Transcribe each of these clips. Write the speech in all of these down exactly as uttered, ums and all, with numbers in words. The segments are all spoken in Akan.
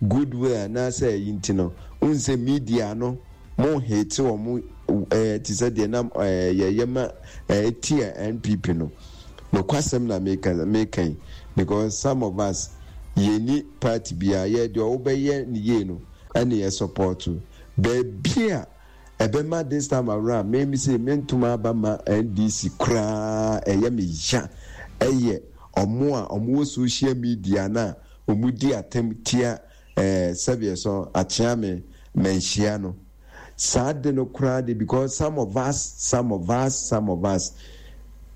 Goodwill anaasɛ ɛyi nti no, wohu sɛ media no mo hate wɔn ɛɛ te sɛ deɛ nam ɛɛ yɛyɛ ma ɛɛ tia N P P no. Nokwasɛm na meka meka yi, because some of us, yɛni party biara. Yɛ deɛ ɔwobɛyɛ ne yie no ɛne yɛ support. Baabi a ɛbɛma this time around, me me sɛ mentoma aba ma N D C koraa, ɛyɛ me ya. Ɛyɛ ɔmo a ɔmo wɔ social media na ɔmo di atɛm tia ɛɛ sɛdeɛ so akyea me manhyia no saa de no koraa de, because some of us some of us some of us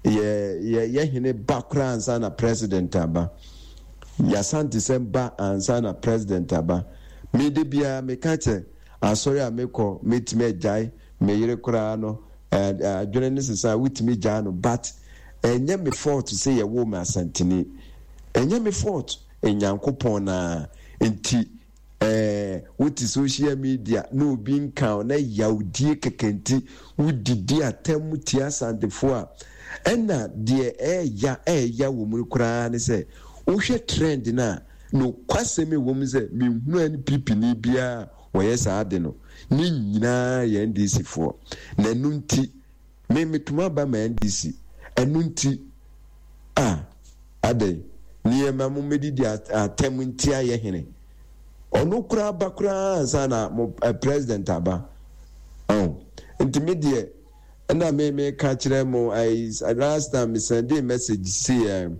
yɛ yɛ yɛ hene ba koraa ansa na president aba, yasante sɛm ba ansa na president aba. Me de biara meka kyɛ asɔre a mekɔ, metumi agyae me yere koraa no, adwene ne sesa a wotumi gyaa no, but ɛnyɛ me fault sɛ yɛwɔ me Asanteni. Ɛnyɛ me fault, Nyankopɔn naa nti. ɛɛ wote social media na obi nka na yawdie kɛkɛ nti wodidi atɛm tia Asantefoɔ a, ɛna deɛ ɛɛya ɛɛya wɔ mu koraa ne sɛ wohwɛ trend no a, nokwasɛm ɛwɔ mu sɛ menhunu N P P ni biara wɔyɛ saa ade no. Ne nyinaa yɛ N D C foɔ na ɛno nti me metuma aba ma N D C. Ɛno nti a adɛn nneɛma mo mɛdidi atɛm nti ayɛ hene ɔno koraa ba koraa ansa na mo uh, president aba ɔn. Nti me deɛ, ɛna me me ka kyerɛ mo ayi, last time me send message si ɛ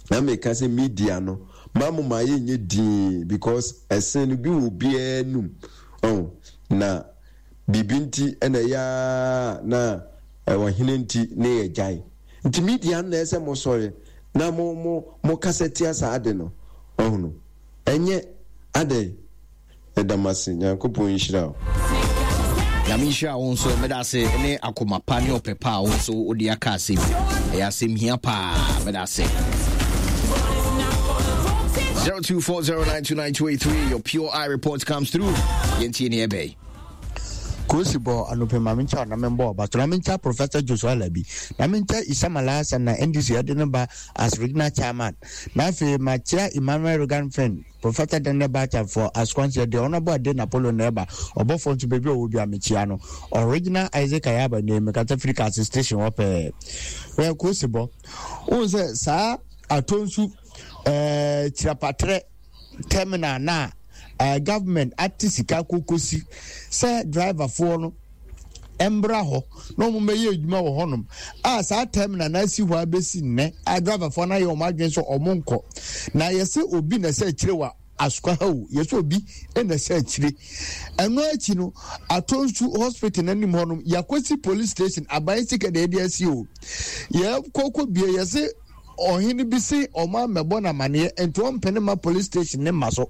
na me ka sɛ media no ma mo ma yɛ nye dii, because ɛsɛn no bi wɔ obiara num ɔn na biribi nti ɛna ɛyɛ na ɛwɔ hene nti ne yɛ gyae. Nti media no na ɛsɛ mo sɔre na mo mo mo kasa tia saa ade no ɔhono. Ɛnyɛ adɛn. Ɛda m ase. Nyankopɔn nhyira wo. Nyame nhyira wo nso. Meda ase ne akoma pa ne ɔpɛ pa a wo nso wode aka asɛm. Ɛyɛ asɛm hia paa. Meda ase. zero two four zero nine two nine two eight three. Your Pure Eye report comes through. Yɛntie ne ɛbɛyi. Kosi bɔ anɔpɛ ma menkyɛ na membɔ ɔba so na menkyɛ Professor Joshua Alabi na menkyɛ Isamala Hassan na N D C ɛde no ba as regional chairman, na afei makyia Emmanuel Regan friend Professor Daniel Bacha for asukwanhyɛ deɛ ɔno bɔ ade Napolon na ɛba ɔbɔfoɔ nso baabi a ɔwɔ bi a mekyia no. Original Isaac Ayaba ne mekasa firi Kase Station hɔ pɛɛ. Wɛ kosi bɔ wohu sɛ saa Atonsu ɛɛ Kyirapatrɛ terminal na uh, government ate sika kokosi sɛ driverfoɔ no mbra hɔ na wɔn bɛyɛ adwuma wɔ hɔnom a, saa terminal na asi hɔ abɛsi nnɛ a, driverfoɔ no ayɛ wɔn adwene sɛ wɔn nkɔ. Na yɛsɛ obi na ɛsɛ akyire wɔ Asokwa ha o, yɛsɛ obi na ɛsɛ akyire. Ɛno akyi no, Atonsu Hospital n'anim hɔnom yɛakɔsi police station, aban sika na yɛde asi o. Yɛkɔkɔ bie, yɛsɛ ɔhene bi se ɔmo amɛbɔ n'amaneɛ nti ɔmpene ma police station ne ma so.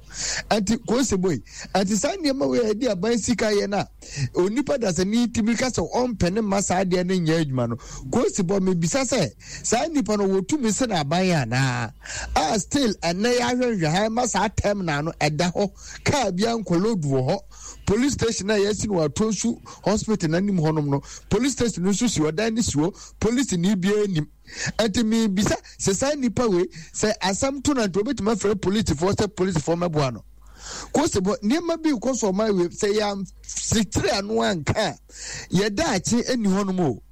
Nti kosi boy, nti saa nneɛma wei a yɛde aban sika yɛ no a, onipa dasani tumi ka sɛ ɔmpene ma saa adeɛ no nyɛ adwuma no, kosi bɔ mebisa sɛ saa nipa no wɔtumi sɛ n'aban anaa? A still ɛnɛ yɛ ahwɛhwɛ ha ma saa terminal no ɛda hɔ, kaa bi ankɔ load wɔ hɔ. Police station a yɛasi no Atonsu Hospital n'anim hɔnom no, police station no nso si hɔ, dan no si hɔ, police ni biara nim. Nti mibisa sɛ saa nipa wei, sɛ asɛm to na nti obetumi afrɛ polisifoɔ sɛ polisifoɔ mɛboa no? Kosi bɔ nneɛma bi kɔ so ɔman wei sɛ yɛasetire ano anka a, yɛda akye ani hɔnom o.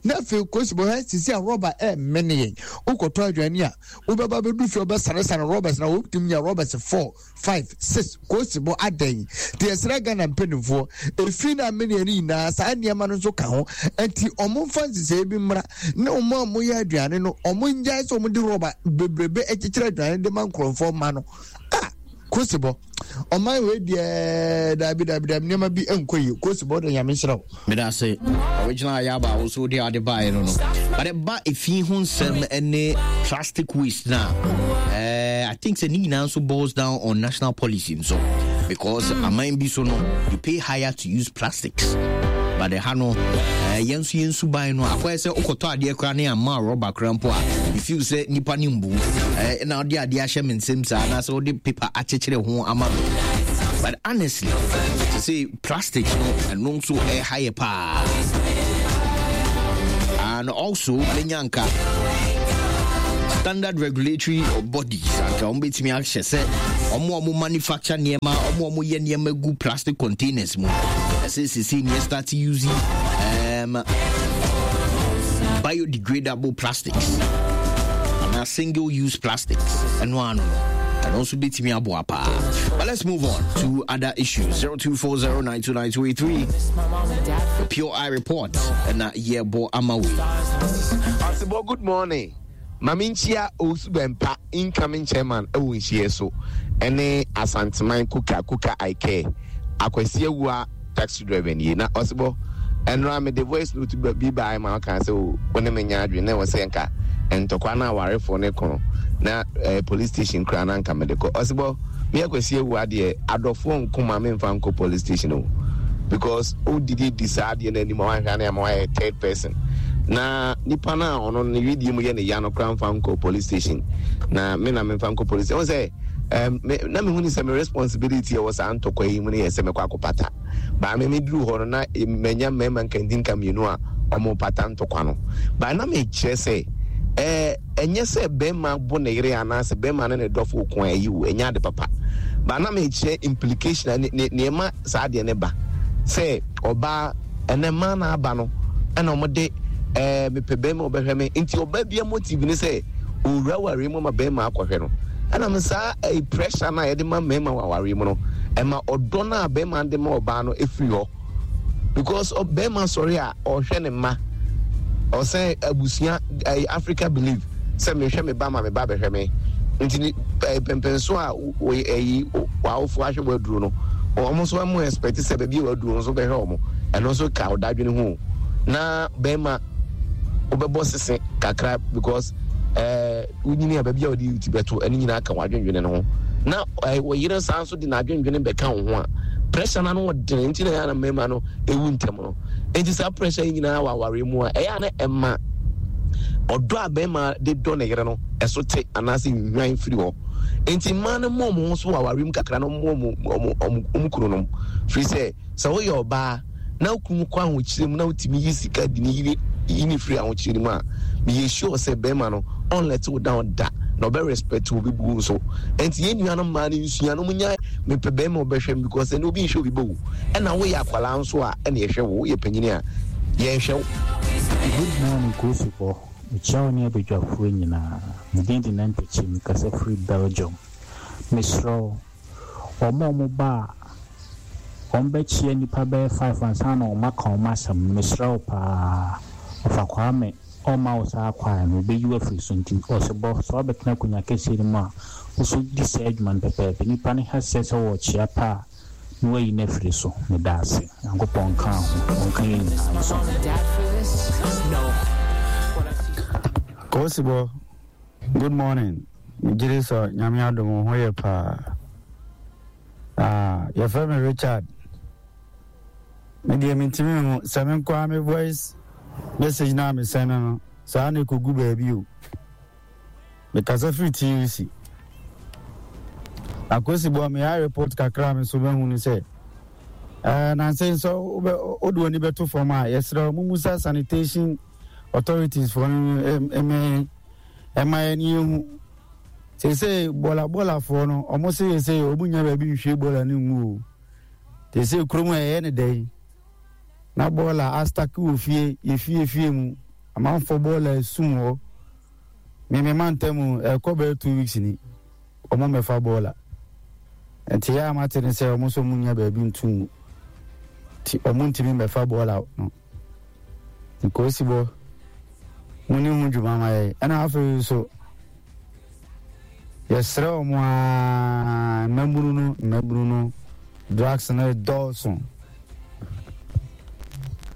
Na afei kosi bɔ hɛ sisi a rɔba ɛɛmene yɛn. Wokɔtɔ aduane a, wobɛba bɛdu fie, wobɛsaresare rɔbas na wobɛtumi nya rɔbas four, five, six. Kosi bɔ adɛn nti yɛsrɛ Ghana mpanimfoɔ, efi na amene yɛn nyinaa, saa nneɛma no nso ka ho. Nti ɔmo mfa nhyehyɛe bi mmra ne ɔmo a moyɛ aduane no, ɔmo ngyae sɛ ɔmo de rɔba bebrebe akyekyere aduane de ma nkurɔfoɔ ma no a. Kosi bɔ ɔman wei deɛ, daabi, daabi, daabi, nneɛma bi nkɔ yie. Kosi bɔ de, Nyame nhyira wo. Meda ase, Original Ayaba. Wo so wode ade baeɛ no no but ɛba ɛfi ho nsɛm ne plastic waste na uh, I think sɛ ne nyinaa nso boils down on national policy nso, because mm. aman bi so no, you pay higher to use plastics, but ɛha no, uh, yɛn nso yɛn suban no akɔyɛ sɛ wokɔtɔ adeɛ koraa ne ama rɔba koraa mpo a, you feel sɛ nipa ne mbu uh, na wode adeɛ ahyɛ me nsam saa anaasɛ wode paper akyekyere ho ama me. But honestly, to say plastic no, ɛno nso ɛha yɛ paa. And also menya nka standard regulatory bodies anka wɔn bɛtumi ahyɛ sɛ Ɔmo a ɔmo manufacture nneɛma, ɔmo a ɔmo yɛ nneɛma gu plastic containers mu, ɛsɛ sisi neɛ start using um, biodegradable plastics anaa single use plastics. Ɛno ano no, ɛno nso bɛtumi aboa paa. But let's move on to other issues. zero two four zero nine two nine two eight three, the Pure Eye Report ɛna yɛbɔ ama wei. Ɔsebɔ, good morning. Maame, nkyia Owusu Bɛmpa, incoming chairman ɛwɔ nhyia so, ɛne Asanteman Kuka Kuka Ike Akwasi Awua, taxi driver nie. Na ɔsebɔ, ɛnora mede voice note bi baa ma ɔka sɛ wo ne me nya adwene na ɛwɔ sɛ nka ntɔkwa no awarefoɔ ne kono na eh, police station koraa na nka mede kɔ. Ɔsebɔ, me Akwasi Awua deɛ, adɔfoɔ nkoma memfa nkɔ police station o, because wodidi di saa adeɛ no anim a, wanhwɛ ne ama wayɛ third person na nipa no a ɔno ne widie mu yɛ ne ya no koraa mfa nkɔ police station na me na memfa nkɔ police station. Sɛ um, me, na mehu ne sɛ me responsibility ɛwɔ saa ntɔkwa yi mu no yɛ sɛ mekɔ akɔpata baa me meduru hɔ no na manya mmarima nkantinka mmienu a ɔmo pata ntɔkwa no baa na mekyerɛ sɛ ɛɛ ɛnyɛ sɛ bɛrima bo ne yere anaasɛ bɛrima ne ne dɔfo ko a ɛyi wo, ɛnyɛ ade papa. Baa na mekyerɛ implication a ne ne nneɛma saa adeɛ ne ba sɛ ɔbaa ɛnɛ mmaa na aba no, ɛna ɔmo de ɛɛ mepɛ bɛrima ɔbɛhwɛ me, nti ɔbaa bi motive ne sɛ owura ware mu ama bɛrima akɔhwɛ no. Ɛna me saa ɛɛ pressure no a yɛde ma mmarima wɔ awaare mu no, ɛma ɔdɔ no a bɛrima de ma ɔbaa no efiri hɔ, because bɛrima sɔre a, ɔhwɛ ne mma, ɔsɛn abusua ɛɛ Africa believe sɛ mehwɛ me ba ma me ba bɛhwɛ me, nti ni ɛɛ pɛmpɛnso a wɔyɛ ɛyi w'awofo ahwɛ wɔ aduro no, wɔn nso wɔn expect sɛ baabi a wɔaduro nso bɛhwɛ wɔn. Ɛno nso ka ɔdadwene ho na bɛrima wobɛbɔ sese kakra, because ɛɛ wonyini a, baabi a wɔde ti bɛto, ɛno nyinaa ka w'adwendwene no ho. Na ɛɛ wɔyere nsa nso de n'adwendwene bɛka wo ho a, pressure na no ɔdene, nti na ɛyɛ na mmarima no ewu ntɛm no. Nti saa pressure yi nyinaa wɔ awaare mu a, ɛyɛ a na ɛma ɔdɔ a bɛrima de dɔ ne yere no ɛso te anaasɛ nhwan firi hɔ. Nti mmaa no mmɔ ɔmo ho so wɔ awaare mu kakra na ɔmo ɔmo ɔmo ɔmo ɔmo kunu nom, firi sɛ sɛ woyɛ ɔbaa na okunu kɔ ahokyere mu na wotumi yi sika di ne yiri yi ne firi ahokyere mu a, meyɛ sure sɛ bɛrima no ɔn let wo down da na ɔbɛ respect wo bi bu nso. Nti yɛn nuanom mmaa no nsua no, mo nya mepɛ bɛrima ɔbɛhwɛ m, because ɛne obi nhwɛ obi bɛ wo, ɛna woyɛ akwalaa nso a, ɛna yɛhwɛ wo, woyɛ panyini a, yɛnhwɛ wo. Good morning, Kosibɔ. Mekyia wo ne abadwafoɔ nyinaa. Me din de Nampakyi, mekasa firi Belgium. Mesrɛ wo, wɔn a wɔn ba a wɔn bɛkyia nnipa bɛyɛ five ansa na wɔn aka wɔn asɛm no, mesrɛ wo paa. Ɔfa Kwame ɔmma wo saa kwan no, ɔbɛyi wo afiri so. Nti ɔsebɔ, sɛ wabɛtena akonnwa kɛseɛ no mu a, wo di saa adwuma no pɛpɛɛpɛ. Nnipa no ha sɛ sɛ wɔrekyia pa a, na wayi no afiri so. Meda ase. Nyankopɔn nka ho, ɔnka yɛn nyinaa nso. Kosibo, good morning. Megye sɛ Nyame adom wo ho yɛ paa. Ah, yɛfrɛ me Richard. Me deɛ, mentumi ho sɛ me nkoa me voice message na me send no saa na ɛkɔgu baabi o. Mekasa firi T U C. Akosibɔ, meyɛ report kakra a me so mahu no sɛ eh, nansɛ sɛ wode w'ani bɛto fam a, yɛserɛ wo mumusa sanitation authorities foɔ no ɛmɛ ɛma yɛn yɛhu seesei bɔla bɔlafoɔ no, ɔmo se yɛ sɛ ɔmo nya baabi nhwie bɔla no ngu o. Seesei kurom a ɛyɛ ne dɛn na bɔɔla a stack wɔ fie, yɛ fie fie mu, amanfoɔ bɔɔla esum hɔ. Mímí mantam ɛkɔ bɛyɛ two weeks ni, ɔmo mɛfa bɔɔla. Nti yɛ a mate ne sɛ ɔmo nso ɔmo nya baabi ntu ngu, nti ɔmo ntumi mɛfa bɔɔla no. Nkosi bɔ mo ne ho dwuma ma yɛ. Ɛna afei nso yɛsrɛ ɔmo aa, mmabunu no mmabunu no drugs no dɔɔso.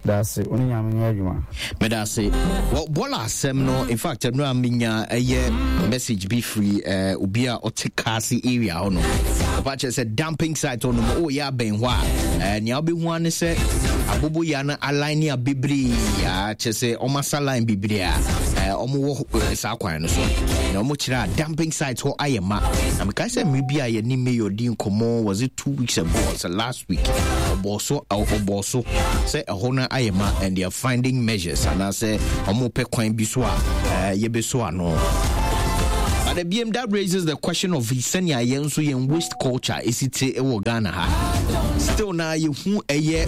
Daase, wo ne Nyame nyɛ adwuma. Meda ase. Well, bɔɔla asɛm no, in fact, ɛno a menya ɛyɛ message bi firi uh, obi a ɔte Kaase area hɔ no. Ɔpa kyerɛ sɛ dumping site hɔ nom ɔyɛ abɛn hɔ a, uh, nea wobɛhu a ne sɛ aboboya no aline a bebree a kyerɛ sɛ ɔmasa line bebree a uh, ɔmowɔ uh, saa kwan no so na ɔmo kyerɛ a dumping site hɔ ayɛ ma. Na mekae sɛ mmere bi a yɛne mayor di nkɔmmɔ, was it two weeks ago or sɛ last week, ɔbɔɔ so ɔbɔɔ so sɛ ɛhɔ no ayɛ ma and they are finding measures anaasɛ ɔmo pɛ kwan bi so a uh, yɛbɛso ano. But But ebiem that raises the question of sɛnea yɛn nso yɛn waste culture esi te wɔ Ghana ha. Still na yɛhu ɛyɛ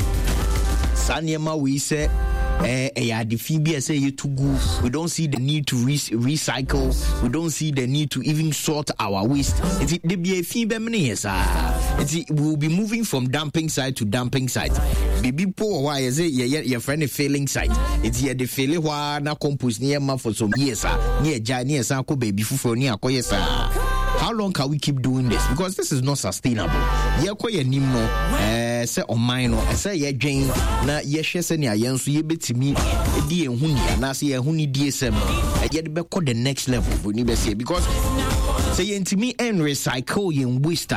saa nneɛma wei sɛ ɛyɛ ade fi bi a ɛsɛ yɛtu gu. We don't see the need to re recycle. We don't see the need to even sort our waste. Nti de bi efi bɛmene yɛ saa. Nti we will be moving from dumping site to dumping site. Biribi po wɔ hɔ a yɛsɛ yɛyɛ yɛfrɛ no filling site. Nti yɛde fele hɔ a na compost ne yɛ ma for some years a ne yɛgyae ne yɛsan akɔ baabi foforɔ ne akɔyɛ saa. How long can we keep doing this? Because this is not sustainable. Yɛkɔ yɛn anim no ɛɛ sɛ ɔman no ɛsɛ yɛdwen na yɛhwɛ sɛnea yɛn nso yɛbɛtumi di yɛn ho ni anaasɛ yɛn ho ni die sɛm no yɛde bɛkɔ the next level broni bɛseɛ because sɛ yɛntumi ɛn recycle yɛn waste a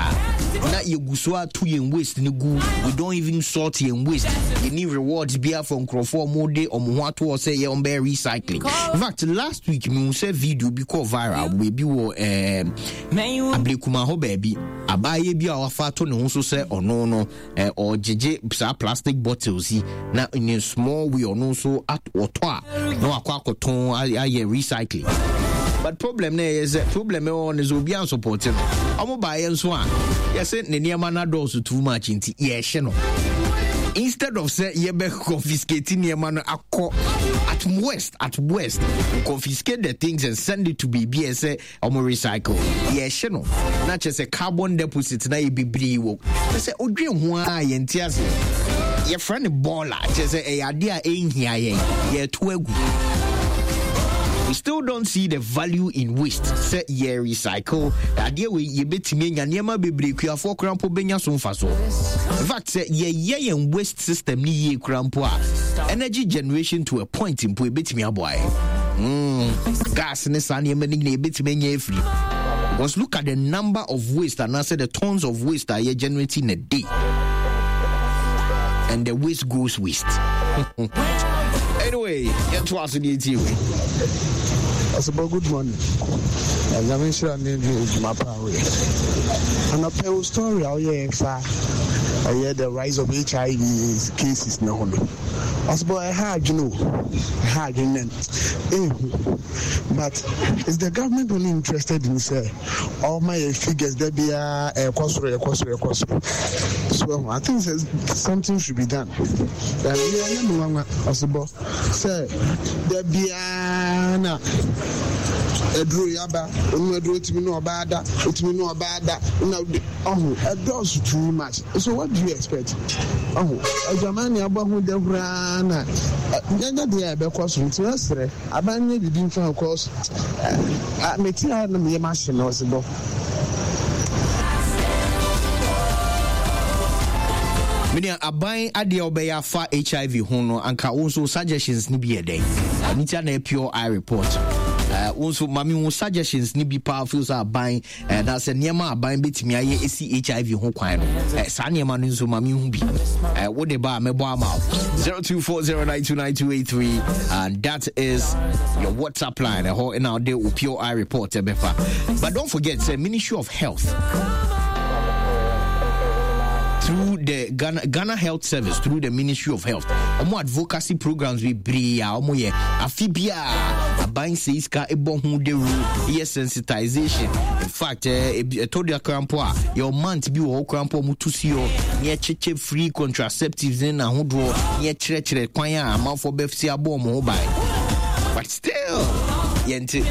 na yɛgu so ato yɛn waste no gu. We don't even sort yɛn waste. Yɛni rewards biara for nkurɔfoɔ a wɔde wɔn ho ato hɔ sɛ yɛ wɔn bɛyɛ recycling. In fact, last week mehu sɛ video bi kɔɔ viral baabi wɔ ɛɛ eh, Ablekuma hɔ baabi. Abaayewa bi a wafa ato ne ho so sɛ ɔno no eh, ɔgyegye saa plastic bottles yi na in a small way ɔno nso ɔtɔ a na wakɔ akɔtɔn ayɛ recycling. But problem na ɛyɛ sɛ problem ɛwɔ no sɛ obi ansupɔte no. Ɔmo baayɛ nso a yɛsɛ ne nneɛma no adɔɔso too much nti yɛɛhye no. Instead of sɛ yɛbɛ confiscate nneɛma no akɔ at worst at worst confiscate the things and send it to baabi a ɛsɛ ɔmo recycle, yɛhyɛ no na kyerɛ sɛ carbon deposit na yɛ bebree wɔ kyerɛ sɛ odwen ho a yɛnte ase. Yɛfrɛ no bɔɔla, kyerɛ sɛ ɛyɛ adeɛ a ɛnhia yɛn, yɛto agu. We still don't see the value in waste sɛ yɛ recycle adeɛ wei yɛbɛtumi anya nneɛma bebree, kuafoɔ koraa mpo bɛnya so mfa so. In fact, sɛ yɛyɛ yɛn waste system ne yie koraa mpo a, energy generation to a point mpo ɛbɛtumi aboa yɛn. mm, gas ne saa nneɛma no nyina yɛbɛtumi anya afiri, because look at the number of waste anaasɛ the tons of waste a yɛ generate in a day, and the waste goes waste. Anyway, yɛto ase deɛ ɛtie wei. Ɔsebɔ, good morning. Nyame nhyira ne adwuma pa a woyɛ. Anɔpɛ wo story a woyɛ fa ɛyɛ the rise of H I V cases ne ho no. Ɔsebɔ, ɛha adwene o, ɛha adwene na ehu. But is the government only interested in sɛ ɔma yɛ figures da biara ɛkɔ soro, ɛkɔ soro, ɛkɔ soro? So I think sɛ something should be done. Ɛyɛ ɛyɛ mi nwanwa, ɔsebɔ, sɛ da biara na aduro yaba onu aduro tumi ne ɔbaa da, otumi ne ɔbaa da na ɔho ɛdɔɔso too much. So what do you expect? Ɔho adwaman ne abɔ ho dawuraa na nyanya deɛ a ɛbɛkɔ so. Nti ɛsrɛ aban nyɛ biribi nfa ho, cause meti ha na meyɛ mahye na ɔsebɔ. Menua, aban adeɛ a wobɛyɛ afa H I V ho no, anka wo nso suggestions no bi yɛ dɛn? Ɛno nti ana pure eye report. Uh, wo nso ma me wo suggestions no bi paa feel sɛ aban uh, na sɛ nneɛma aban bɛtumi ayɛ ɛsi H I V ho kwan no, uh, saa nneɛma no nso ma me hu bi. uh, wode ba a mɛbɔ ama wo zero two four zero nine two nine two eight three, and that is your WhatsApp line. Ɛhɔ ɛna wode wo pure eye report ɛbɛfa. But don't forget sɛ Ministry of Health through the Ghana, Ghana Health Service, through the Ministry of Health, ɔmo advocacy programs bebree a ɔmo yɛ afi biara, aban sɛ sika ɛbɔ ho dawuro yɛ sensitization. In fact, ɛtɔ de akora mpo a yɛ month bi wɔ hɔ kora mpo ɔmo tu si hɔ ne yɛkyekyɛ free contraceptives ne n'ahodoɔ ne yɛkyerɛkyerɛ kwan a amanfoɔ bɛsi abɔ ɔmo ho ban, but still yɛnte.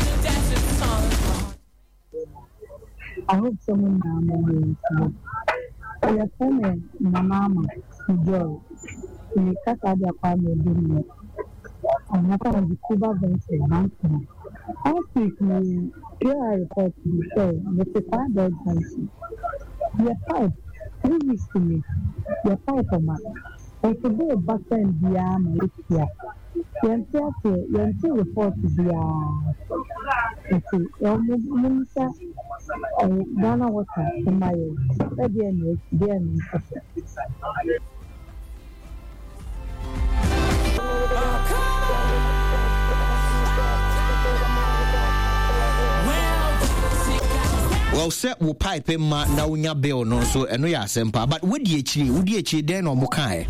I hope sɛ mo nyinaa mo ho yɛ. Yɛfrɛ me Nana Ama Joy. Me kasa de akɔ ama ebi mu. Ɔmo kɔ no Kuba Ventures Bantama. Last week me P R report bi sɛ mete Kwaa Junction. Yɛ pipe three weeks ni yɛ pipe ma. Nso bill ba sɛn biara ma yɛtua. Yɛnte aseɛ, yɛnte report biara. Nti ɔmo mmisa ɛyɛ Ghana Water mma yɛn sɛdeɛ na esi deɛ na ɛkɔ so. Well, sɛ wo pipe ma na wonya bill no nso ɛno yɛ asɛm paa, but wodi akyire wodi akyire dɛn na ɔmo kae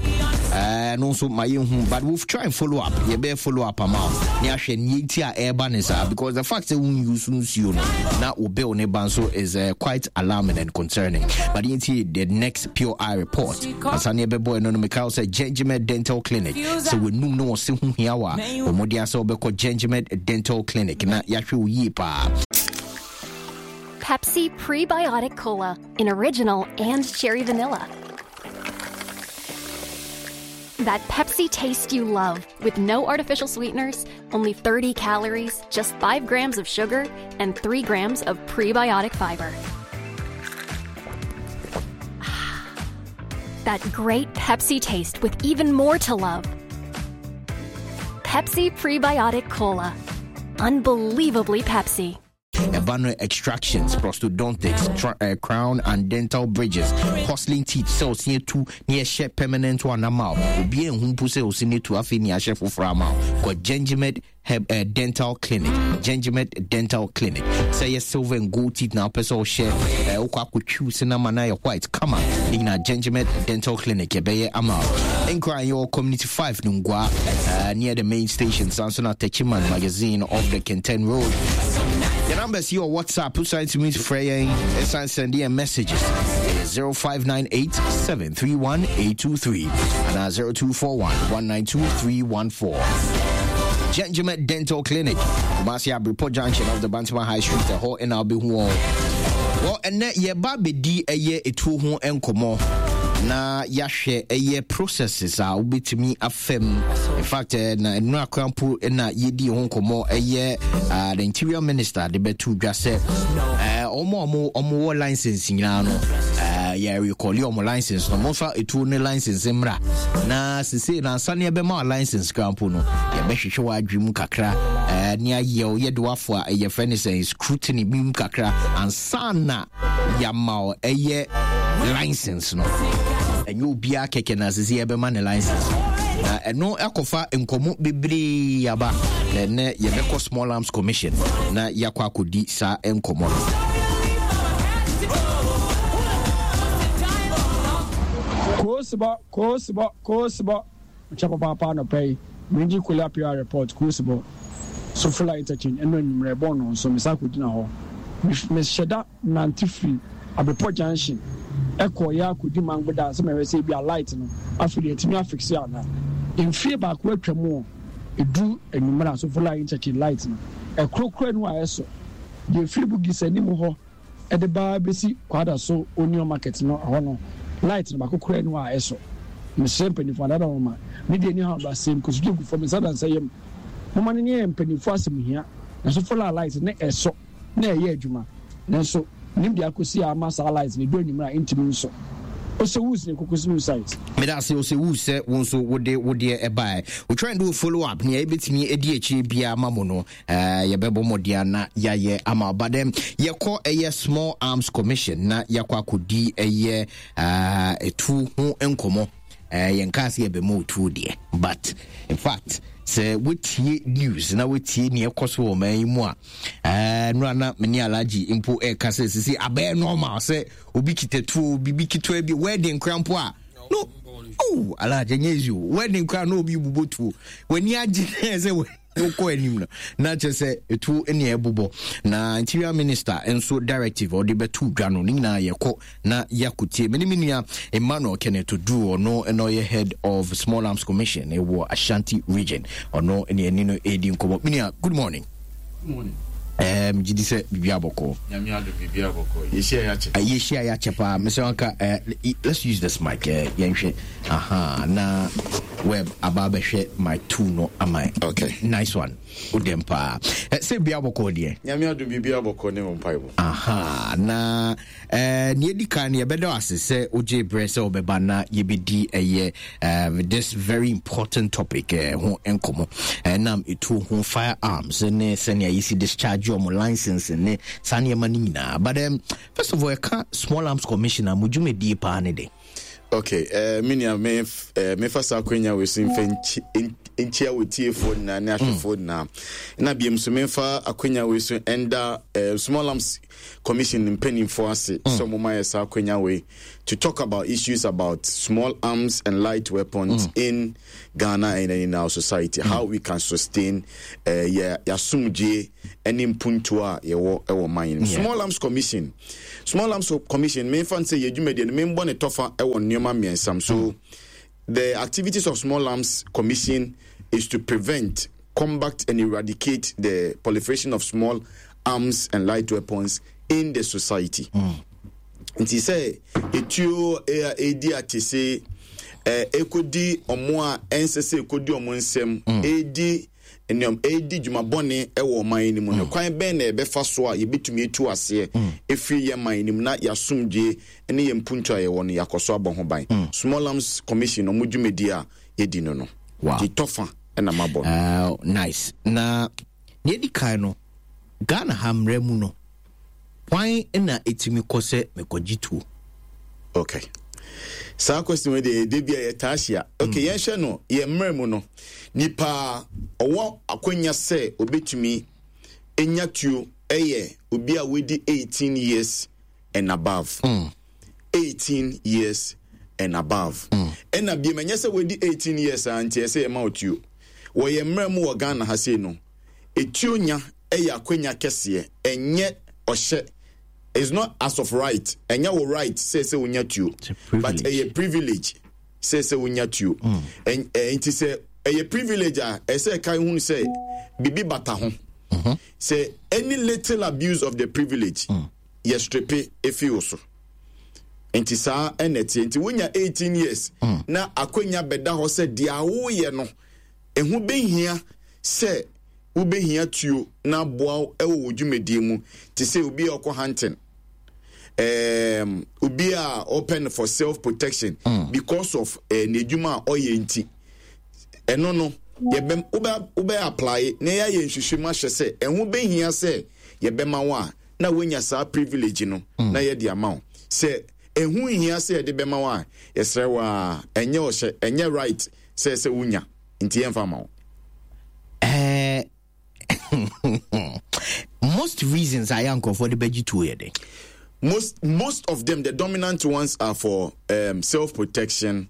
ɛno nso ma yɛnhu, but we'll try and follow up. Yɛbɛyɛ follow up ama wo ne ahwɛ neɛ nti a ɛreba ne saa, because the fact sɛ wonyu so nsuo no na wo bill ne ba nso is uh, quite alarming and concerning. But yɛntie the next Pure Eye report ansa ne yɛbɛbɔ ɛno no. Meka wo sɛ Gengimed Dental Clinic, sɛ w'anum ne wɔse ho hia wo a, wɔmmɔden sɛ wobɛkɔ Gengimed Dental Clinic na yɛahwɛ wo yie paa. Pepsi Prebiotic Cola in original and cherry vanilla. That Pepsi taste you love with no artificial sweeteners, only thirty calories, just five grams of sugar, and three grams of prebiotic fiber. That great Pepsi taste with even more to love. Pepsi Prebiotic Cola. Unbelievably Pepsi. Ɛba no extractions, prosthodontics, tra- uh, crown and dental bridges, porcelain teeth, sɛ ɔse atu ne ɛhyɛ permanent one ama wo, obi anhu mpo sɛ ɔse no atu, afei ne ahyɛ foforɔ ama wo. Kɔ Gengimed Heb, uh, Dental Clinic. Gengimed Dental Clinic, sɛ yɛ silver and gold teeth na wopɛ sɛ wohyɛ, uh, wokɔ akɔtwiw se no ama no ayɛ white kama ne nyinaa, Gengimed Dental Clinic yɛbɛyɛ ama wo. Nkran yɛwɔ Community five no Ngua, uh, near the main station, san so na Techiman Magazine off the Kenten Road. The numbers here on WhatsApp, who to me frɛ yɛn, ɛsan send yɛn messages, zero five nine eight seven three one eight two three and zero two four one one nine two three one four. Gengimed Dental Clinic, Kumasi Abripo Junction of the Bantama High Street, ɛhɔ ɛna wobɛhu wɔn. Well, ɛnɛ yɛba bɛdi ɛyɛ etuo ho nkɔmmɔ na yɛahwɛ ɛyɛ processes a wobɛtumi afam. In fact, eh, na ɛno akora mpo na yɛdi ho nkɔmmɔ, ɛyɛ uh, the Interior Minister de bɛto dwa sɛ eh, ɔmo a ɔmo ɔmo wɔ license nyinaa no, eh, yɛ recall ɔmo license no. Momfa etuo ne license mmra na sesei na ansa ne yɛbɛma wa license kora mpo no, yɛbɛhwehwɛ w'adwe mu kakra, eh, ne ayɛ wo yɛde wafo a ɛyɛ frɛ ne sɛ scrutiny bi mu kakra ansa na yɛama wo ɛyɛ license no. Ɛnyɛ obiara kɛkɛ na sese yɛbɛma ne license, na ɛno akɔfa nkɔmmɔ bebree aba. Na ɛnɛ yɛbɛkɔ Small Arms Commission na yɛakɔ akɔdi saa nkɔmmɔ no. Koosibɔ, koosibɔ, koosibɔ, nkyɛ papaapa. Anɔpa yi mengye Kola P R report. Koosibɔ, Sofola Interchange, ɛno anwummerɛ ɛbɔɔ no nso mesa akɔgyina hɔ. Mehyɛ da nante firi Abrepɔ Junction ɛkɔ yɛ akɔdi Mangoda sɛ mɛhwɛ sɛ ebi a light no afei deɛ ɛtumi afixe ana. Mfie baako atwa mu o, ɛduru anwummerɛ a Sofola Interchange light no ɛkorokoro no a ɛsɔ deɛ ɛfiri Bugis anim hɔ ɛde baa bɛsi Kwada so Onion Market no, ɛhɔ no light no baako kora no a ɛsɔ. Mesrɛ mpanimfoɔ adada wɔn ma ne deɛ ni ha ba sɛm kosodwe gu fam nsa dansa yam moma no ne yɛ mpanimfoɔ asɛm hia na Sofola light ne ɛsɔ na ɛyɛ adwuma, nanso nim deɛ akɔsi a ama saa light ne du anwummerɛ a ɛntumi nsɔ. Ɔsɛ ne kokosi new site. Meda ase, ɔsɛ wu sɛ wo nso wode wodeɛ ɛbaɛ. We try and do a follow up nea yɛbɛtumi adi akyire biara ma mo no, uh, yɛbɛbɔ mmɔden na yɛayɛ ama. But then yɛkɔ ɛyɛ Small Arms Commission na yɛakɔ akɔdi ɛyɛ uh, ɛtu ho nkɔmmɔ. uh, yɛnka sɛ yɛbɛma otuo deɛ, but in fact sɛ wotie news na wotie nea ɛkɔ so wɔ ɔman yi mu a, uh, no ana mene Alagye mpo ɛka sɛ sisi abɛyɛ normal sɛ obi kita tuo, biribi ketewa bi, wedding kora mpo a no. Oh, Alagye, nyɛ easy o. Wedding kora na obi bobɔ tuo, w'ani agye sɛ wokɔ anim no na kyerɛ sɛ ɛtuo ne ɛbobɔ. Na Interior Minister nso directive ɔde bɛto dwa no ne nyinaa yɛkɔ na yɛakotie. Mene me nua Emmanuel Kenneth Odu, ɔno na ɔyɛ head of Small Arms Commission ɛwɔ Ashanti Region, ɔno ne ani no ɛdi nkɔmmɔ. Me nua, good morning. Good morning. Um, gye di sɛ biribi abɔkɔ. Nyame adom, biribi abɔkɔ. Yɛhyia yɛakyɛ. Uh, yɛhyia yɛakyɛ paa. Mesɛ wanka, uh, let's use this mic, uh, yɛnhwɛ aha na web aba bɛhwɛ mic two no ama. Okay. Nice one, wodɛm paa. uh, sɛ biribi abɔkɔ deɛ. Nyame adom, biribi abɔkɔ ne wo mpaebɔ. Aha na uh, nea ɛdi kan no, yɛbɛda wo ase sɛ wogye berɛ sɛ wobɛba na yɛbɛdi ɛyɛ uh, this very important topic uh, ho nkɔmmɔ, ɛnam ɛtuo ho, firearms ne sɛnea yɛsi discharge ɔmo license ne saa nneɛma no nyinaa. But um, first of all, ɛka Small Arms Commission a, mo dwumadie paa ne de? Okay, uh, me nua, me uh, mefa saa akwanya wei so mfa nkyia wɔ tiefoɔ nyinaa ne ahwɛfoɔ nyinaa. Na biom so memfa akwanya wei so ɛnda uh, Small Arms Commission mpanimfoɔ ase sɛ ɔmo ma yɛ saa akwanya wei to talk about issues about small arms and light weapons mm. in Ghana and in our society. Mm. How we can sustain uh, yɛ yasomdwe ne mpuntuo a yɛwɔ ɛwɔ man no. Small Arms Commission. Small Arms Commission memfa n sɛ yɛ dwumadie no membɔ ne tɔfa ɛwɔ nneɛma mmiɛnsa so. Mm. The activities of Small Arms Commission is to prevent, combat, and eradicate the proliferation of small arms and light weapons in the society. Nti sɛ etuo edi atese ekodi ɔmo a ɛnsɛ sɛ ekodi ɔmo nsɛm edi nneɛma edi dwuma bɔne ɛwɔ ɔman yi mu no, kwan bɛn na yɛbɛfa so a yɛbɛtumi etu aseɛ efiri yɛn man yi mu na yɛasomdwe ne yɛn mpuntu a yɛwɔ no yɛakɔ so abɔ ho ban? Small Arms Commission ɔmo dwumadi a yɛdi no no Wow. Nti tɔfa ɛna mabɔ no. Uh, nice. Na nea ɛdi kan no, Ghana ha mmerɛ mu no, kwan na ɛtumi kɔ sɛ mekɔgye tuo? Okay, saa question wei deɛ, ɛde bi a yɛtaa hyia. Okay, yɛnhwɛ no, yɛn mmerɛ mu no, nipa a ɔwɔ akwanya sɛ obɛtumi enya tuo ɛyɛ obi a wadi eighteen years and above. mm. eighteen years and above. Ɛna biem, ɛnyɛ sɛ wadi eighteen years a nti ɛsɛ yɛma wo tuo. Wɔ yɛn mmerɛ mu wɔ Ghana ha sei no, etuo nya ɛyɛ akwanya kɛseɛ, ɛnyɛ ɔhyɛ. It's not as of right, ɛnyɛ wo right sɛ sɛ wonya tuo, but ɛyɛ privilege sɛ sɛ wonya tuo. Ɛn- ɛ, nti sɛ ɛyɛ privilege a, ɛsɛ ɛka ehunu sɛ bibi bata ho sɛ any little abuse of the privilege, yɛ strip efi wo so. Nti saa ɛna ɛteɛ. Nti wonya eighteen years na akwanya bɛda hɔ sɛ deɛ awoyɛ no ɛho bɛhia sɛ wobɛhia tuo na aboa wo ɛwɔ wo dwumadie mu, te sɛ obi a ɔkɔ hunting, um, obi a ɔpɛ no for self protection because of uh, n'adwuma a ɔyɛ. Nti ɛno no yɛbɛ wobɛ wobɛ apply na yɛayɛ nhwehwɛmu ahyɛ sɛ ɛho bɛhia sɛ yɛbɛma wo a, na woanya saa privilege no na yɛde ama wo. Sɛ ɛho nhia sɛ yɛde bɛma wo a, yɛsrɛ wo a, ɛnyɛ ɔhyɛ, ɛnyɛ right sɛ sɛ wonya, nti yɛmfa ma wo. Eh, most reasons a yɛ nkurɔfoɔ de bɛgye tuo yɛ den? most most of them, the dominant ones are for um, self protection,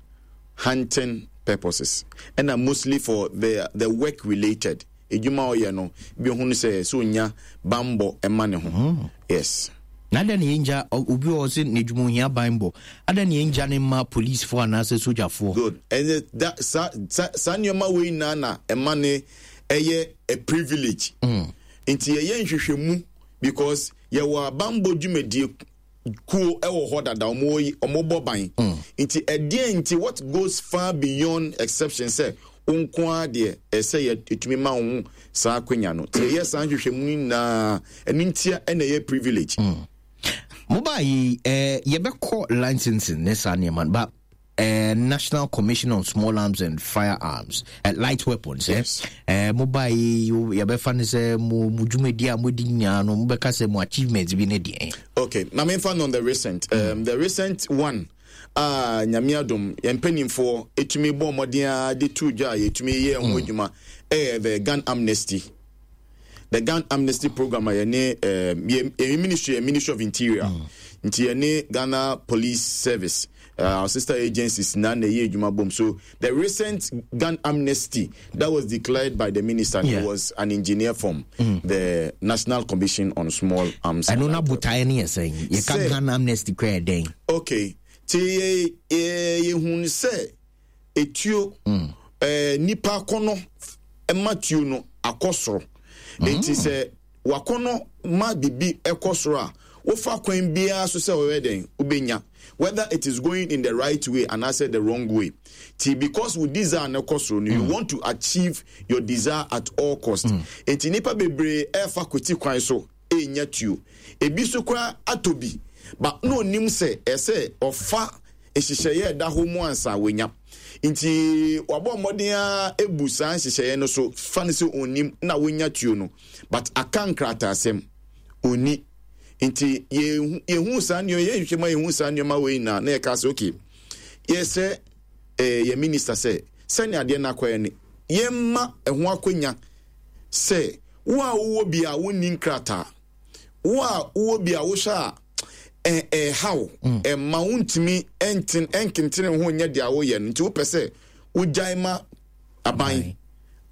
hunting purposes, and are mostly for the the work related edwuma ɔyɛ no bi ohun sɛ sɛ onya bambɔ ɛma ne ho, yes. Na adɛn na yɛngya obi wɔ hɔ sɛ n'adwuma ohia banbɔ, adɛn na yɛngya ne ma policefoɔ anaasɛ sogyafoɔ? Good. Ɛnɛ da saa saa saa nneɛma wei nyinaa na ɛma ne ɛyɛ a privilege. Nti yɛyɛ nhwehwɛmu because yɛwɔ abanbɔ dwumadie kuo ɛwɔ hɔ dada, ɔmo yi ɔmo bɔ ban. Nti ɛdeɛn nti, what goes far beyond exception sɛ wo nko ara deɛ ɛsɛ yɛ etumi ma wo ho saa akwanya no? Nti yɛyɛ saa nhwehwɛmu no nyinaa, ɛno ntia ɛna ɛyɛ privilege. Mobaa yi, eh, yɛbɛkɔ licensing ne saa nneɛma no, but uh, National Commission on Small Arms and Firearms, uh, light weapons. Eh? Yes. Eh, mobaa yi, yɛbɛfa no sɛ mo mo dwumadi a modi nyinaa no, mobɛka sɛ mo achievements bi ne deɛ? Okay, na memfa no on the recent um, the recent one a Nyame adom yɛn mpanimfoɔ ɛtumi bɔ mmɔden a de to dwa a yɛtumi yɛ ho adwuma ɛyɛ the gun amnesty the gun amnesty program a yɛne um, yɛ yɛ ministry yɛ Ministry of Interior, nti yɛne Ghana Police Service, uh, our sister agencies na na ɛyɛ adwuma bom. So the recent gun amnesty that was declared by the minister, Yeah. he was an engineer from the National Commission on Small Arms and ɛno na Light Weapons. Botaeɛ no yɛ sɛn? Yɛka Sɛ- gun amnesty kora yɛ dɛn? Okay, nti yɛ yɛ yɛhunu sɛ etuo ɛɛ nipa akɔnɔ ɛma tuo no akɔ soro. Nti sɛ wakɔnɔ ma bibi ɛkɔ soro a, wofa kwan biara so sɛ ɔyɛ dɛn wobɛnya, whether it is going in the right way anaasɛ the wrong way. Ti because wo desire no kɔ soro no, you want to achieve your desire at all cost. Nti nipa bebree ɛɛfa kweti kwan so ɛnya tuo. Ebi so koraa atɔ bi but na onim sɛ ɛsɛ ɔfa nhyehyɛeɛ ɛda hɔ mu ansa wanya. Nti wabɔ mmɔden a ebu saa nhyehyɛeɛ no so, fa no sɛ onim na wonya tuo no, but aka nkrataasɛm oni. Nti yɛhu yɛhu saa nneɛma, yɛhwehwɛ ma yɛhu saa nneɛma wei nyinaa na yɛka sɛ okay, yɛsɛ ɛɛ yɛ minister sɛ sɛnea adeɛ no akɔyɛ no Yɛmma ɛho akonya sɛ wo a wowɔ bi a wonni nkrataa, wo a wowɔ bi a wohyɛ a ɛhaw, ɛma wontumi ɛnten ɛnkentene ho nyɛ deɛ woyɛ no, nti wopɛ sɛ wogyae ma aban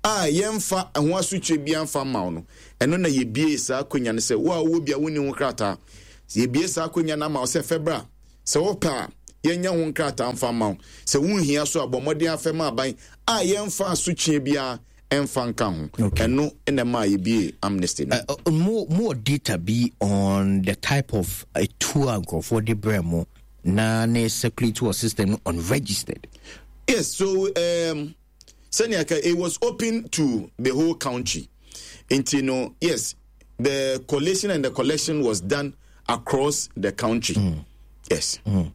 a yɛmfa ɛho asotwe bi amfa mma wo no, ɛno na yɛbie saa akonya no sɛ wo a wowɔ bi a wonni ho krataa, yɛbie saa akonya no ama wo sɛ fɛbra sɛ wopɛ a yɛnyɛ ho nkrataa mfa mma wo, sɛ wonhia so a bɔ mmɔden afɛ ma aban a yɛmfa asotwe biara ɛmfa nka ho. Ɛno na ɛma yɛbie amnesty no. Uh, uh, more, more data be on the type of uh, tour nkurɔfoɔ de brɛ mo na ne circulate wɔ system no unregistered. Yes, so um, sɛnea ka it was open to the whole country. Nti no, yes, the collation and the collection was done across the country. Mm. Yes. Mm.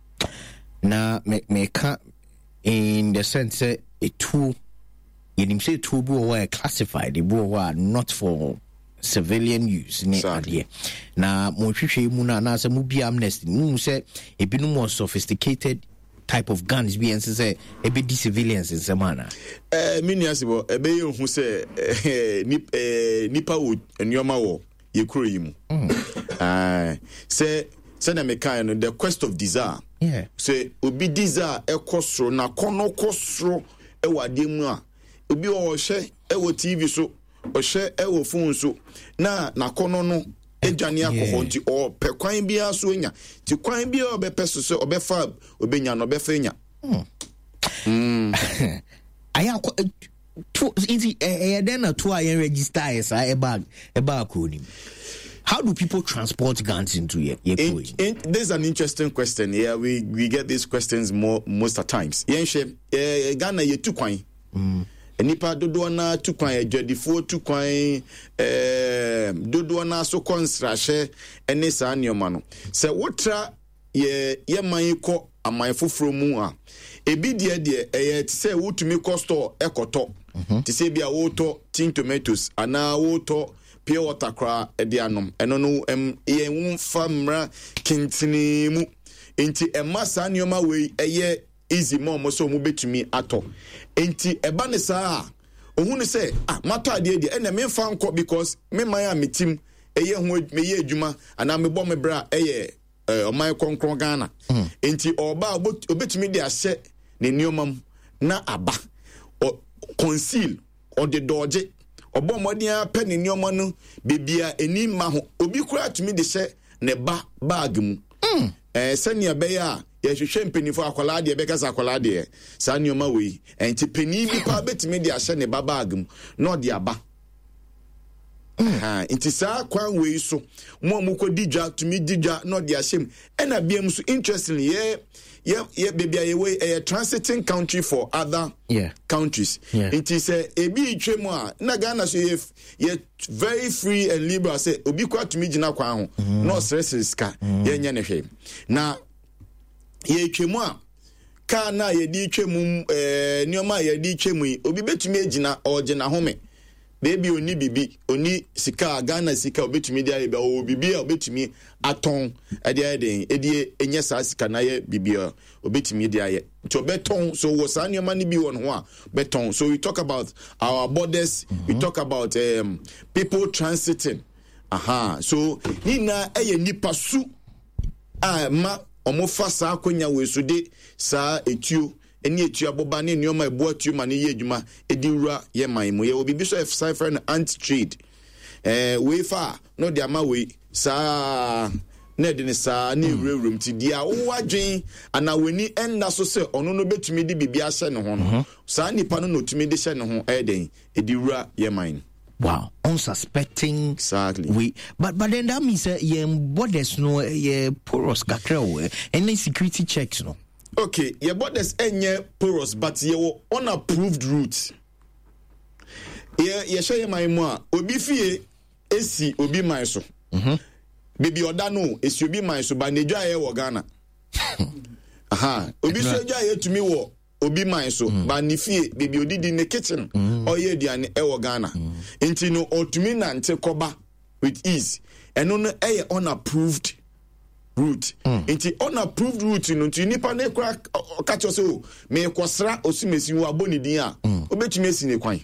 Na me meka in the sense sɛ etuo yɛnim sɛ etuo bi wɔ hɔ a classified, ebi wɔ hɔ a not for civilian use ne adeɛ. Na mo nhwehwɛ mu no anaasɛ mo bi amnesty mo hu sɛ ebinom wɔ sophisticated type of guns bi ɛnsɛ sɛ ɛbɛdi civilians nsɛm ana? Eh, me nua sebɔ ɛbɛyɛ hu sɛ eh, nip, eh, nipa wɔ nneɛma wɔ yɛ kuro yi mu. Mm. Uh, sɛ sɛnea mekae no, the quest of desire. Yeah. Sɛ obi desire ɛkɔ soro na kɔnɔ kɔ soro ɛwɔ adeɛ mu a, obi wɔ ɔhwɛ ɛwɔ T V so, ɔhwɛ ɛwɔ phone so, na n'akɔnɔ no adwane akɔ hɔ, nti ɔpɛ kwan biara so anya, nti kwan biara ɔbɛpɛ so sɛ ɔbɛfa ɔbɛnya no, ɔbɛfa anya. Mm. Ayɛ akɔ to nti ɛyɛ dɛn na to a yɛn register yɛ saa ɛba ɛba akuro nim? How do people transport guns into your, your in, in, this is an interesting question. Yeah, we, we get these questions more most of times. Yɛn hwɛ eh, Ghana yɛ tu kwan. Mm. Nipa dodoɔ na tu kwan, adwadifoɔ tu kwan, eh, dodoɔ na so kɔ nsrahyɛ ne saa nneɛma no. Sɛ wotra yɛ yɛ man yi kɔ aman foforɔ mu a, ebi deɛ deɛ ɛyɛ te sɛ wotumi kɔ store ɛkɔtɔ. Mm-hmm. Te sɛ bi a wotɔ tin tomatoes anaa wotɔ pure water koraa ɛde anom. Ɛno no ɛm yɛn fa mmra kentene mu. Nti ɛma saa nneɛma wei ɛyɛ easy ma ɔmo sɛ ɔmo betumi atɔ. Nti ɛba ne saa a, ohun sɛ, ah, matɔ adeɛ deɛ, ɛnna memfa nkɔ because me man a metim ɛyɛ ho meyɛ adwuma anaa mebɔ me bra ɛyɛ ɔman kronkron Ghana. Nti ɔba a obetumi de ahyɛ ne nneɛma mu na aba. Ɔ conceal, ɔde dɔɔgye, ɔbɔ mmɔden apɛ ne nneɛma no beebi a ani mma ho. Obi koraa tumi de hyɛ ne ba bag mu. Mm. Eh, sɛnea ɛbɛyɛ a yɛhwehwɛ mpanyinfoɔ akwadaa deɛ bɛka sɛ akwadaa deɛ saa nneɛma wei. Nti panyin bi paa betumi de ahyɛ ne ba bag mu na ɔde aba. Mm. Ha, nti saa kwan wei so mo a mokɔ di dwa tumi di dwa na ɔde ahyɛ mu. Ɛna biam so interestingly yɛ yɛ yɛ beebi a yɛwɔ yi ɛyɛ transiting country for other yeah. countries. Yeah. Nti sɛ ebi retwa mu a na Ghana so yɛ yɛ very free and liberal sɛ obi kora tumi gyina kwan ho mm. na ɔsrɛsrɛ sika mm. yɛnyɛ ne hwee. Na yɛtwa mu a kaa na yɛde twa mu ɛɛ nneɛma a yɛde twa mu yi obi betumi agyina ɔgyina home. Baby oni bibi oni sika Ghana sika obetumi de ayɛ bi ɔwɔ bibi a obetumi atɔn ɛde ayɛ den ɛde enye saa sika na ayɛ bibi a obetumi de ayɛ nti ɔbɛtɔn. So wɔ saa nneɛma no bi wɔ ne ho a bɛtɔn. So we talk about our borders, mm-hmm. we talk about um, people transiting. Aha, so ne nyinaa ɛyɛ nipa su a ma ɔmo fa saa akonya wɔ so de saa etuo ne etua boba ne nneɛma ɛboa tuo ma ne yɛ adwuma edi wura yɛ man mu. Yɛwɔ biribi so ɛsan frɛ no ant trade. Ɛɛ wei fa a na ɔde ama wei saa na ɛde ne saa ne ewurawura mu. Ti deɛ a wowɔ adwen anaa w'ani ɛnna so sɛ ɔno no betumi de biribi ahyɛ ne ho no, saa nipa no na otumi de hyɛ ne ho ɛyɛ den edi wura yɛ man. Wow, unsuspecting. Exactly. We, but, but then that means that uh, your borders no, your porous kakra, any security checks no. Okay, your borders enye porous, but your unapproved route. Yeah, yeah, share my mo. Obi fie esi obi man so. Mm-hmm. Baby oda no esi obi man so, but nedwa ye wo Ghana. Aha, obi so edwa ye tumi wo obi man so, mm. but ne fie baby odidi ne kitchen mm. oye aduane e wo Ghana. Mm. Nti no otumi nante koba with ease. Eno no eye unapproved route. Mm. Nti unapproved route no nti nipa ne kura ka kyerɛ sɛ o me kɔsra osimesi wo abɔ ne din a Mm. obetumi esi ne kwan.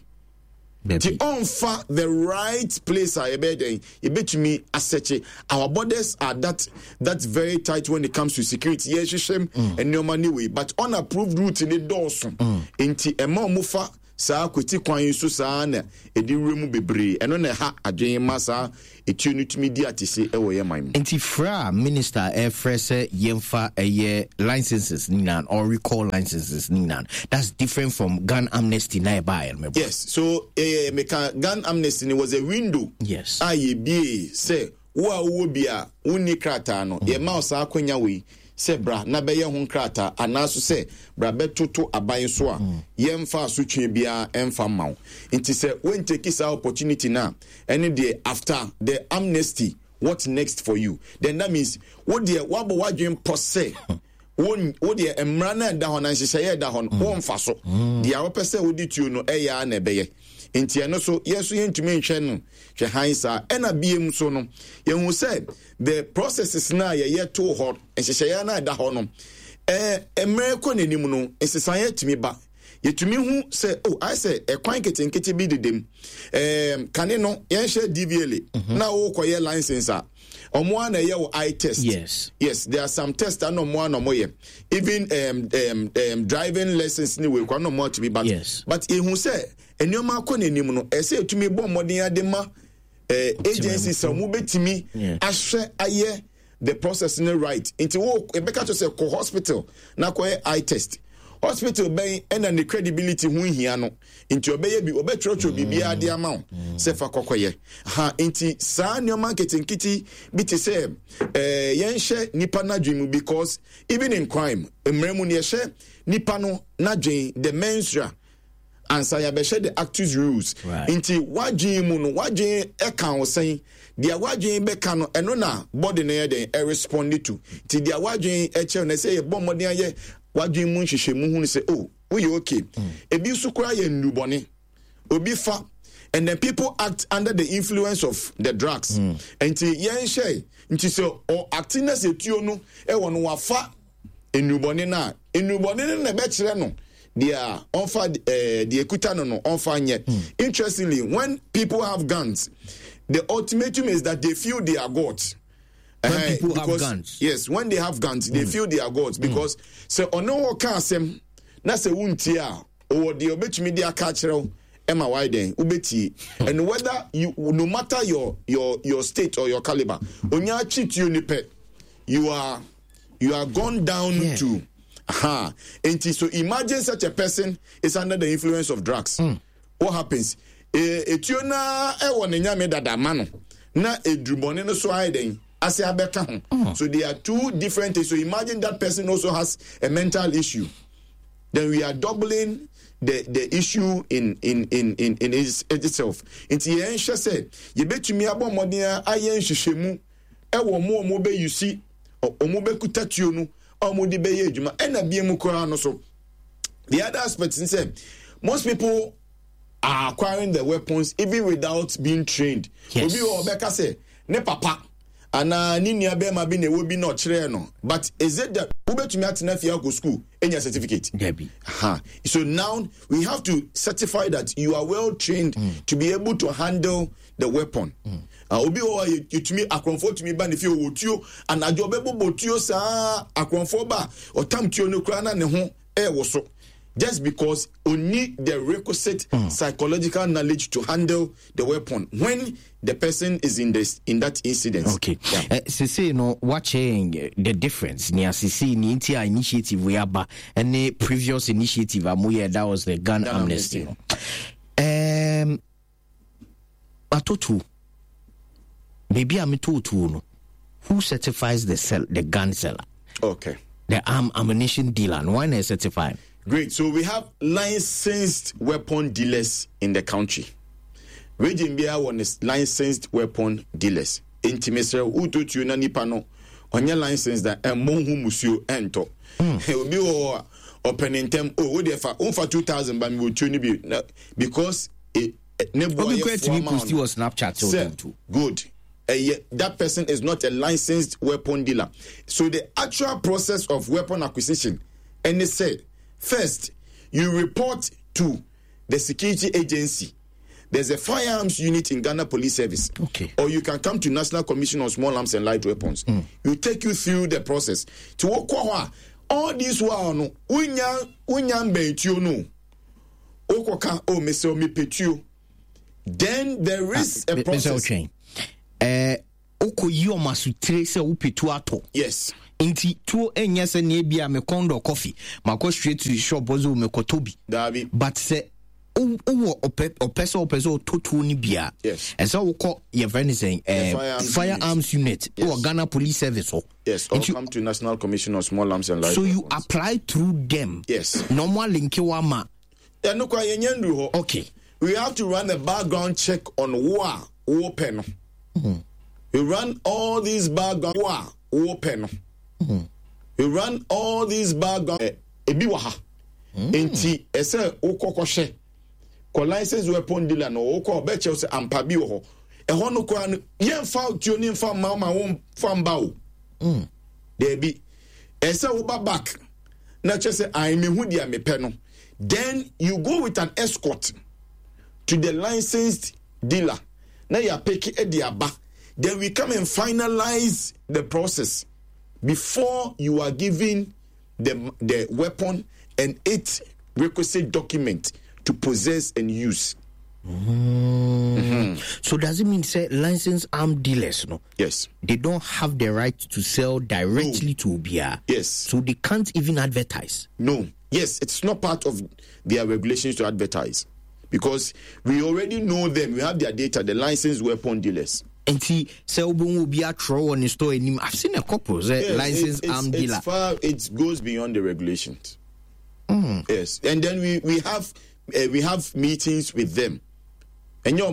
Nti ɔnfa the right place a yɛbɛyɛ dɛn yɛbɛtumi asɛkye. Our borders are that that very tight when it comes to security. Yɛhwehwɛ mm. nneɛma ne wei, but unapproved route ne dɔɔso. Mm. Nti ɛma ɔmo fa saa kweti kwan yi so saa na ɛde wura mu bebree. Ɛno na ɛha adwene ma saa etuo no tumi di atese ɛwɔ yɛn man mu. Nti frɛ a minister ɛfrɛ sɛ yɛmfa ɛyɛ licenses ne nyinaa or recall licenses ne nyinaa, that's different from gun amnesty na ɛbaeɛ no? Yes, so eh, meka gun amnesty ni was a window. Yes. A yɛbie sɛ wo a wowɔ bi a wonni krataa no, yɛma wo saa akwanya wei sɛ bra na bɛyɛ ho nkrataa, anaaso sɛ bra bɛtoto aban so a yɛmfa asotwe biara ɛmfa mma wo. Nti sɛ wontake saa opportunity no a, ɛne deɛ after the amnesty, what next for you? Then that means wo deɛ woabɔ w'adwen pɔ sɛ wo wo deɛ mmara no ɛda hɔ na nhyehyɛeɛ ɛda hɔ no womfa so. Deɛ wopɛ sɛ wode tuo no ɛyɛ a na ɛbɛyɛ. Nti ɛno so yɛn so yɛntumi nhwɛ no hwɛ han saa. Ɛna biem so no, yɛhu sɛ the processes no a yɛyɛ too hɔ, nhyehyɛeɛ no a ɛda hɔ no, ɛɛ mmerɛ kɔ n'anim no, nsesaeɛ tumi ba. Yɛtumi hu sɛ oh, ayɛ sɛ ɛkwan nketenkete bi dedem. ɛɛm kane no yɛnhyɛ D V L A mm-hmm. na wokɔyɛ license a, ɔmo a na ɛyɛ wo eye test. Yes yes, there are some tests a na ɔmo a na ɔmo yɛ, even um, um, um, driving lessons ne wei kwan na ɔmo atumi, but yes. but ehu sɛ nneɛma akɔ n'anim no, ɛsɛ etumi bɔ mmɔden ade ma eh, agency sɛ ɔmo bɛtumi ahwɛ ayɛ the process no right. Nti wo ebɛka kyerɛ sɛ kɔ hospital na kɔyɛ eye test. Hospital bɛn ɛna ne credibility ho hia no? Nti ɔbɛyɛ bi, ɔbɛtwerɛtwerɛ biribiara de ama wo sɛ fa kɔkɔyɛ ha. Nti saa nneɛma nketenkete bi te sɛ ɛɛ yɛnhyɛ nipa n'adwene mu, because even in crime mmerɛ mu no, yɛhyɛ nipa no n'adwene, the mens rea, ansa yɛabɛhyɛ the actus reus. Right. Nti wadwene mu no, wadwene ɛka wo sɛn? Deɛ wadwene bɛka no, ɛno na body no yɛ dɛn ɛrespond to. Nti deɛ wadwene ɛkyerɛ no, ɛsɛ yɛbɔ mmɔden ayɛ wadwene mu nhwehwɛmu hunu sɛ oh, woyɛ okay. Ebi nso koraa yɛ nnubɔne obi fa, and then people act under the influence of the drugs. Nti yɛnhyɛ nti sɛ ɔ act na sɛ tuo no ɛwɔ no, wafa nnubɔne no a, nnubɔne no na ɛbɛkyerɛ no deɛ ɔnfa ɛɛ deɛ ekuta no no ɔnfa nyɛ. Interestingly, when people have guns, the ultimatum is that they feel they are gods. When uh, people because, have guns. Yes, when they have guns, they mm. feel they are gods because sɛ ɔne wɔ ka asɛm na sɛ wuntie a, ɔwɔ deɛ ɔbɛtumi de aka akyerɛ wo ɛma wayɛ dɛn wobɛtie. And whether you, no matter your your your state or your caliber, onya akyi tuo ni pɛ, you are you are gone down Yeah. to ha. Nti so imagine such a person is under the influence of drugs. Mm. What happens? Eh, etuo naa ɛwɔ ne nyame dada ma no na edurubɔne no so ayɛ dɛn ase abɛka ho. So they are two different things. So imagine that person also has a mental issue, then we are doubling the the issue in in in in in its, itself. Nti yɛn hwɛ sɛ yɛbɛtumi abɔ mmɔden ayɛ nhwehwɛmu ɛwɔ mo a ɔmo bɛ yusi, ɔmo bɛkuta tuo no a ɔmo de bɛyɛ adwuma. Ɛna bie mu koraa no so, the other aspect n sɛ most people are acquiring the weapons even without being trained. Yes. Obi wɔ ɔbɛka sɛ ne papa anaa ne nua bɛrima bi na ɛwɔ bi na ɔkyerɛɛ no, but is it that wobɛtumi atena fie akɔ school enya certificate? Debbie. Ha. So now we have to certify that you are well trained mm. to be able to handle the weapon. Mm. Uh, obi wɔ hɔ a yɛtumi akorɔmfoɔ tumi ba ne fie, ɔwɔ tuo, anadwo ɔbɛbobɔ tuo saa, akorɔmfoɔ ba a, ɔtam tuo no koraa na ne ho ɛɛwɔ so, just because only the requisite mm. psychological knowledge to handle the weapon when the person is in this in that incident. Okay. Yeah. Uh, sese no wakyɛn the difference nea sese ni nti a initiative wei aba ɛne previous initiative a moyɛ, that was the gun, Gun amnesty no. Um, atotuo baabi a metɔɔ tuo no, who certifies the sell, the gun seller? Okay. The arm ammunition dealer no, why na certify? Great. So we have licensed weapon dealers in the country. Region biara wɔ ne licensed weapon dealers. Nti mesrɛ wotɔ tuo na nipa no ɔnyɛ licensed a, ɛmmɔ ho musuo ɛntɔ. Obi wɔ hɔ a ɔpɛ ne ntɛm o, wo deɛ fa womfa two thousand ba mi wɔ tuo no bi na because e, ne boɔ obi yɛ kura foa tumi ma wo post no. wɔ Snapchat sɛ Sɛ ɔtɔn tuo. Good. Ɛyɛ that person is not a licensed weapon dealer. So the actual process of weapon acquisition ɛne sɛ, first you report to the security agency There's a firearms unit in Ghana Police Service. Okay. Or you can come to National Commission on Small Arms and Light Weapons. Mm. We take you through the process. To wokɔ all this while no, unya unya mbɛntuo no. Wokɔka oh mesɛ mepɛtuo. Then there is ah, a process. Eh, wokɔyi ɔmo asotire sɛ wopɛ tuo atɔ. Yes. Nti tuo nyɛ sɛ nea ebi a mekɔn dɔ coffee makɔ straight to shop ɔsɛ mekɔtɔ bi. Daabi. But sɛ wowɔ ɔpɛ ɔpɛ sɛ ɔpɛ sɛ ɔtɔ tuo no bi a. Yes. Ɛsɛ wokɔ yɛfrɛ ne sɛn ɛɛ firearms unit yes. wɔ Ghana Police Service hɔ. Yes. Or come to National Commission on Small Arms and Light. So you apply through them. Yes. Na ɔmo alinke wa ma. Ɛno kora yɛn nyɛ nduru hɔ. Okay. We have to run a background check on wo a wopɛ no. Mm. We run all these background wo a wopɛ no. Mm. We run all these background eh, ebi wɔ ha. Mm. Nti ɛsɛ wokɔ kɔhwɛ kɔ license weapon dealer no wokɔ ɔbɛkyɛw sɛ ampa bi wɔ hɔ. Ɛhɔ no koraa no yɛmfa tuo ne mfa mma ma wo mfa mba o. Mm. Daabi. Ɛsɛ woba back na kyerɛ sɛ ae mehu deɛ mepɛ no. Then you go with an escort to the licensed dealer. Now you are picking the aba. Then we come and finalize the process before you are given the, the weapon and its requisite document to possess and use. Mm. Mm-hmm. So does it mean say licensed armed dealers no? Yes. They don't have the right to sell directly No. to Obia. Yes. So they can't even advertise. No. Yes, it's not part of their regulations to advertise because we already know them. We have their data, the licensed weapon dealers. Nti sɛ wobɛhu obi atwerɛ wɔ ne store anim. I've seen a couple sɛ Yes, licensed it's, armed it's dealer. Far, it goes beyond the regulations. Mm. Yes, and then we we have uh, we have meetings with them, and your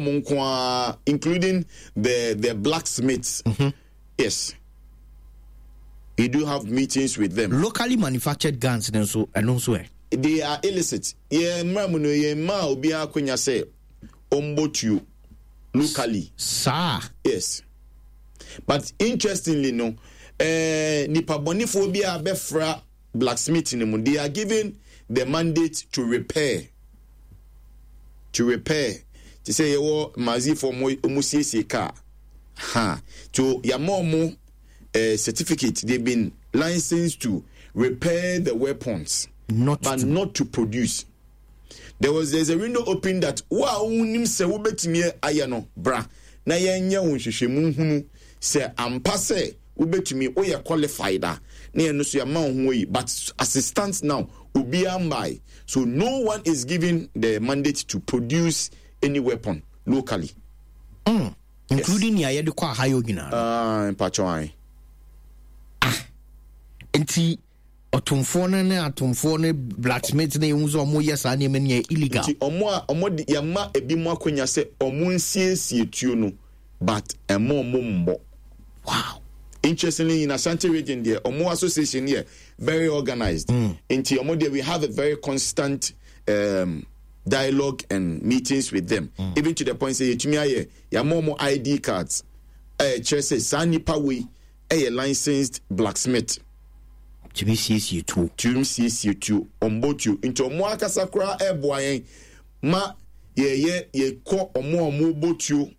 including the the blacksmiths. Mm-hmm. Yes, we do have meetings with them. Locally manufactured guns then so and also eh. They are illicit. Yeah, mma no yeah ma obi akonya sɛ ɔmbɔ tuo locally. Saa. Yes, but interestingly no, eh, nipa bɔnifoɔ bi a bɛfra blacksmith no mu, they are given the mandate to repair. To repair. Te sɛ yɛwɔ mazifoɔ ɔmo ɔmo siesie car. Ha. To yamma ɔmo eh, certificate. They've been licensed to repair the weapons. Not but to- not to produce. There was there's a window open that wo a wonim sɛ wobɛtumi ayɛ no bra na yɛnyɛ wo nhwehwɛmu hunu sɛ ampa sɛ wobɛtumi woyɛ qualified a na yɛno so yɛma wo ho yi, but as it stands now obiara mbae, so no one is given the mandate to produce any weapon locally. Mm. Including nea yɛde kɔ ahayɔ nyinaa no. Ah, mpatwɔ ae. Nti ɔtomfoɔ no ne atomfoɔ ne blacksmith ne ehu sɛ ɔmo yɛ saa nneɛma no yɛ illegal. Nti ɔmo a ɔmo de yɛma ebi mo akonya sɛ ɔmo nsiesie tuo no, but ɛmo ɔmo mbɔ. Wow. Interestingly, in Ashanti region there, Omo Association here, very organized. Mm. Nti Omo there, we have a very constant um, dialogue and meetings with them. Mm. Even to the point say yetumi aye yama omo I D cards. Eh, kyerɛ sɛ saa nipa wei ɛyɛ licensed blacksmith. Tumi siesie tuo. Tumi siesie tuo, ɔmbɔ tuo. Nti ɔmo akasa koraa ɛboa yɛn ma yɛyɛ yɛkɔ ɔmo a ɔmo bɔ tuo.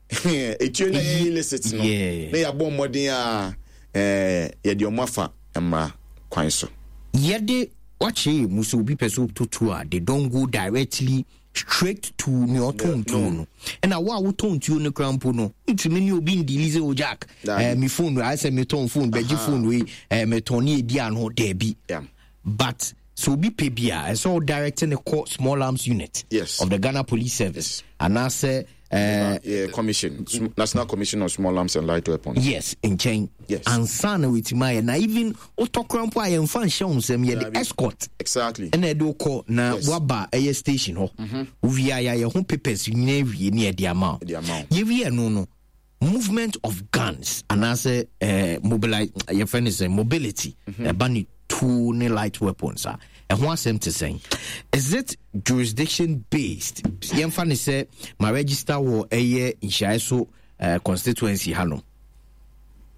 Etuo na yɛ illicit no. Yeah. Na yɛabɔ mmɔden a, eh, yɛde ɔmo afa mmara kwan so. Yɛde wakyɛ mu sɛ obi pɛ sɛ ɔtɔ tuo a, they don't go directly straight to nea ɔtɔn tuo no. Ɛna wo a wotɔn tuo no koraa mpo no, ntumi ne obi ndili sɛ, o Jack, Daabi. eh, me phone, ayɛ sɛ metɔn phone, bɛgye Aha. phone wei, eh, metɔn ne edi ano, daabi. Yeah. But sɛ obi pɛ bi a, ɛsɛ sɛ ɔdirect ne kɔ small arms unit Yes. of the Ghana Police Service. Yes. Anaasɛ, eh, Yeah, commission, Sm-, National Commission on Small Arms and Light Weapons. Yes, nkyɛn. Yes. Ansa na wetin ayɛ. Na even wotɔ koraa mpo a yɛmfa nhyɛ wo nsam, yɛde Dabi. escort. Exactly. Ɛna ɛde wokɔ na Yes. woaba ɛyɛ station hɔ. Mm-hmm. Wowie a yɛayɛ ho papers nyinaa wie ne yɛde ama wo. Yɛde ama wo. Yɛwie no no, movement of guns anaasɛ, eh, mobili-, yɛfrɛ no sɛ mobility. Mm-hmm. Ɛba ne tuo ne light weapons a, ɛho asɛm te sɛn? Is it jurisdiction based? Yɛmfa ne sɛ ma register wɔ ɛyɛ nhyiaeɛ so, eh, constituency ha no.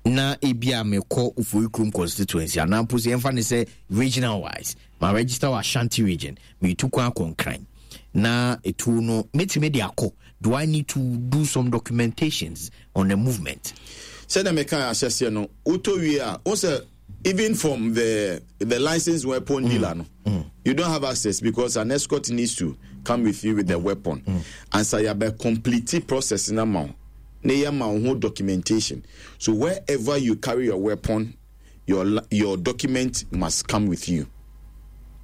Na ebi a mekɔ Ofori Kurom constituency anaa mpo sɛ yɛmfa ne sɛ regional wise ma register wɔ Ashanti region, metu kwan akɔ Nkran. Na etuo no mɛtumi de akɔ? Do I need to do some documentations on the movement? Sɛdeɛ meka ahyɛseɛ no, wotɔ wie a, wo sɛ even from the the licensed weapon mm. dealer no, mm. you don't have access because an escort needs to come with you with the weapon mm. Ansa yɛabɛ complete process na ma wo na yɛma wo ho documentation. So wherever you carry your weapon, your your document must come with you.